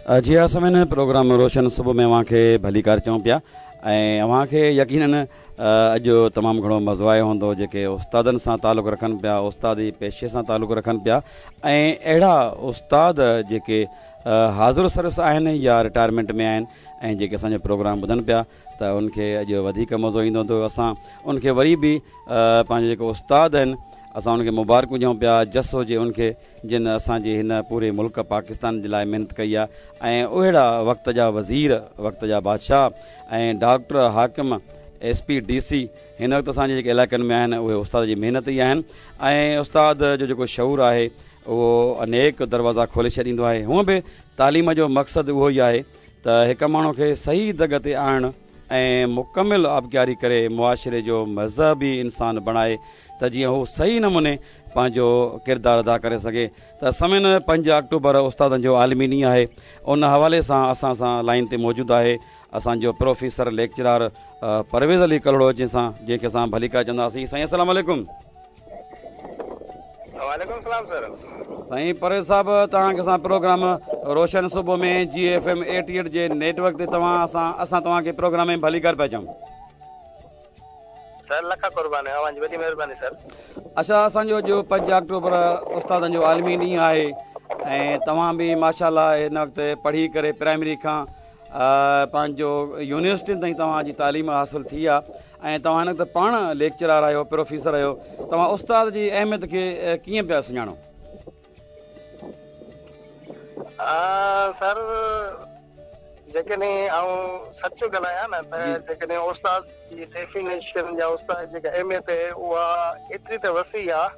جي ها سامعين پروگرام روشن صبح ۾ اوهان کي ڀليڪار چئون پيا ۽ اوهان کي يقينن اڄ تمام گهڻو مزو آيو هوندو جيڪي استادن سان تعلق رکن پيا استادي پيشي سان تعلق رکن پيا ۽ اهڙا استاد جيڪي حاضر سروس آهن يا رٽائرمينٽ ۾ آهن ۽ جيڪي اسان جو پروگرام ٻڌن پيا ته ان کي اڄ وڌيڪ مزو ايندو هوندو اسان ان کي وري به پنهنجو جيڪو استاد آهن اسان ان کي مبارڪون ڏيون پيا جس هجي ان کي جن اسان جي هن پوري ملڪ پاڪستان جي لاء محنت ڪئي آهي ۽ اهڙا وقت جا وزير وقت جا بادشاهه ۽ ڊاڪٽر حاڪم ايس پي ڊي سي هن وقت اسان جي جيڪي علائقن ۾ آهن اهي استاد جي محنت ئي آهن ۽ استاد جو جيڪو شعور آهي اهو انيڪ دروازا کولي ڇڏيندو آهي هونء به تعليم جو مقصد اهو ئي آهي ته هڪ ماڻهو کي صحيح دڳ تي آڻڻ ۽ مڪمل آبگياري ڪري معاشري جو مذهبي انسان بڻائي ته جيئن هو صحيح نموني پنهنجو ڪردار ادا ڪري سگهي ته سمين پنج آڪٽوبر استادن جو عالمي ڏينهن آهي ان حوالي سان اسان سان لائين تي موجود آهي اسان جو پروفيسر ليڪچرار پرويز علي ڪلهوڙو جنهن سان جنهن کي اسان ڀليڪار چونداسين سائين السلام عليڪم. وعليڪم السلام سر. سائين پرويز صاحب توهان کي اسان پروگرام روشن صبح ۾ جي ايف ايم 88 جي نيٽ ورڪ تي توهان اسان اسان توهان کي پروگرام ۾ ڀليڪار پيا چئون. سر لک قربان اوهان جي وڏي مهرباني سر. اڇا اسان جو اڄ پنج آڪٽوبر استادن جو عالمي ڏينهن آهي ۽ توهان به ماشاء الله هن وقت پڙهي ڪري پرائمري کان پنهنجو يونيورسٽين تائين توهان جي تعليم حاصل ٿي آهي ۽ توهان هن وقت پاڻ ليڪچرار آهيو پروفيسر آهيو توهان استاد جي اهميت کي ڪيئن پيا سڃاڻو؟ سر جيڪڏهن آئون سچ ڳالهايان نه ته جيڪڏهن استاد جي ڊيفينيشن يا استاد جي جيڪا اهميت آهي اها ايتري ته وسيع آهي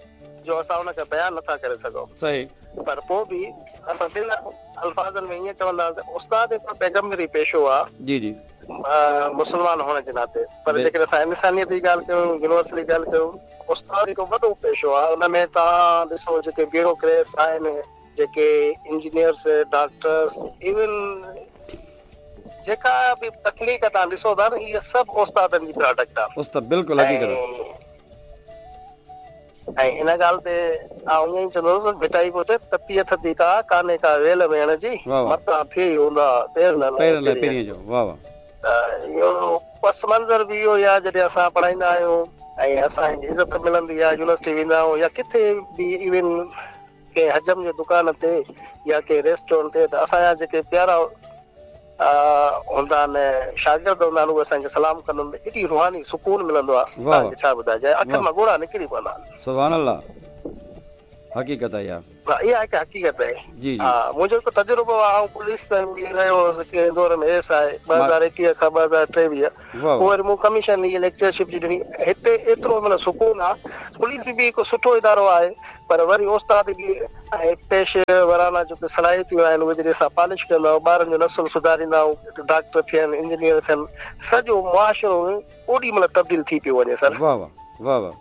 جو اسان ان کي بيان نٿا ڪري سگهون. صحيح. پر پوء به اسان ٻن الفاظن ۾ ائين چونداسين ته استاد هڪ پيغمبري پيشو آهي. جي جي. مسلمان هئڻ جي ناتي پر جيڪڏهن اسان انسانيت جي ڳالهه ڪيون يونيورسل جي ڳالهه ڪيون استاد هڪ وڏو پيشو آهي ان ۾ توهان ڏسو جيڪي بيوروڪريٽس آهن جيڪي انجنيئرس، ڊاڪٽرس ايون جيڪا به تخليق توهان ڏسو ٿا نه اهي سڀ استادن جي پراڊڪٽ آهي. استاد بلڪل حقيقت. ۽ ان ڳالهه تي آئون ائين ئي چوندس ڀٽائي پيو چئي تتيء ٿڌي تاء ڪانهي ڪا ويل ويهڻ جي متان ٿئي اونداهه پير نه لهي پرينء جو. واه واه. ته اهو پس منظر به اهو ئي آهي جڏهن اسان پڙهائيندا آهيون ۽ اسان کي عزت ملندي آهي يونيورسٽي ويندا آهيون يا ڪٿي به ايون ڪنهن حجم جي دڪان تي يا ڪنهن ريسٽورنٽ تي ته اسان جا جيڪي پيارا هوندا آهن شاگرد هوندا آهن اهي اسان کي سلام ڪندا آهن ته ايڏي روحاني سڪون ملندو آهي توهان کي ڇا ٻڌائجي ۽ اکين مان ڳوڙها نڪري پوندا آهن. سبحان الله حقيقت آهي اها. ها اها هڪ حقيقت آهي. جي جي. ها منهنجو هڪ تجربو آهي آئون پوليس ۾ به رهيو هوس ڪنهن دور ۾ ايس I 2021 کان 2023 پوء وري مون ڪميشن هي ليڪچرشپ جي ڏني هتي ايترو معنيٰ سڪون آ پوليس به هڪ سٺو ادارو آهي پر وري استاد به ۽ پيشه ورانه جيڪي صلاحيتون آهن اهي جڏهن اسان پالش ڪندا آهيون ٻارن جو نسل سڌاريندا آهيون ڊاڪٽر ٿين انجنيئر ٿين سڄو معاشرو اوڏي مهل تبديل ٿي پيو وڃي سر. واه واه واه واه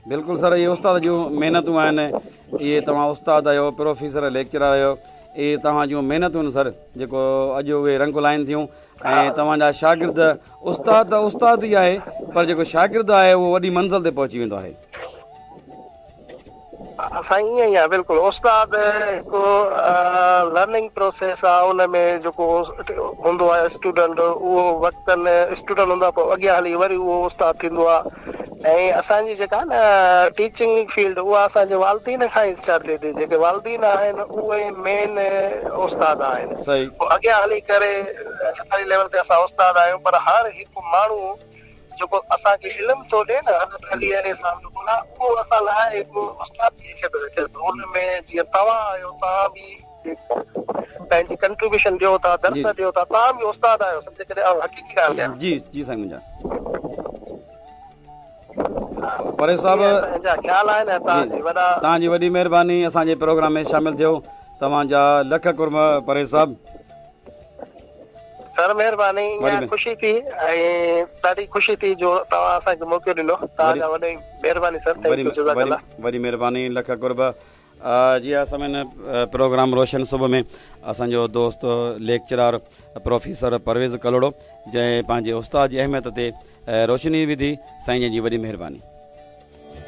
بلڪل سر اهي استاد جون محنتون آهن اهي توهان استاد آهيو پروفيسر ليڪچرار آهيو اهي توهان جون محنتون سر جيڪو اڄ اهي رنگ لائن ٿيون ۽ توهان جا شاگرد استاد ته استاد ئي آهي پر جيڪو شاگرد آهي اهو وڏي منزل تي پهچي ويندو آهي. سائين ائين ئي آهي بلڪل استاد هڪ لرننگ پروسيس آهي ان ۾ جيڪو هوندو آهي اسٽوڊنٽ اهو وقتن اسٽوڊنٽ هوندو آهي پوء اڳيان هلي وري اهو استاد ٿيندو آهي ۽ اسان جي جيڪا نه ٽيچنگ فيلڊ اها اسان جي والدين کان ئي اسٽارٽ ٿئي ٿي جيڪي والدين آهن اهي مين استاد آهن پوء اڳيان هلي ڪري سرڪاري ليول تي اسان استاد آهيون پر هر هڪ ماڻهو جيڪو اسان کي علم ٿو ڏي نه حضرت علي عليه السلام جو قول آهي اهو اسان لاء هڪ استاد جي حيثيت رکي ٿو ان ۾ جيئن توهان آهيو توهان به پنهنجي ڪنٽريبيوشن ڏيو ٿا درس ڏيو ٿا توهان به استاد آهيو سمجهه ڪڏهن آئون حقيقي ڳالهه ڪيان جي جي سائين منهنجا پريز صاحب توهان جي وڏي مهرباني اسان جي پروگرام ۾ شامل ٿيو توهان جا لک قرب پريز صاحب. سر مهرباني اڃا خوشي ٿي ۽ ڏاڍي خوشي ٿي جو توهان اسان کي موقعو ڏنو توهان جا وڏي مهرباني سر thank you جزاڪ الله. وڏي مهرباني لک قرب جي ها سامعين پروگرام روشن صبح ۾ اسان جو دوست ليڪچرار پروفيسر پرويز ڪلهوڙو جنهن پنهنجي استاد جي اهميت تي روشني وڌي سائين جن جي وڏي مهرباني.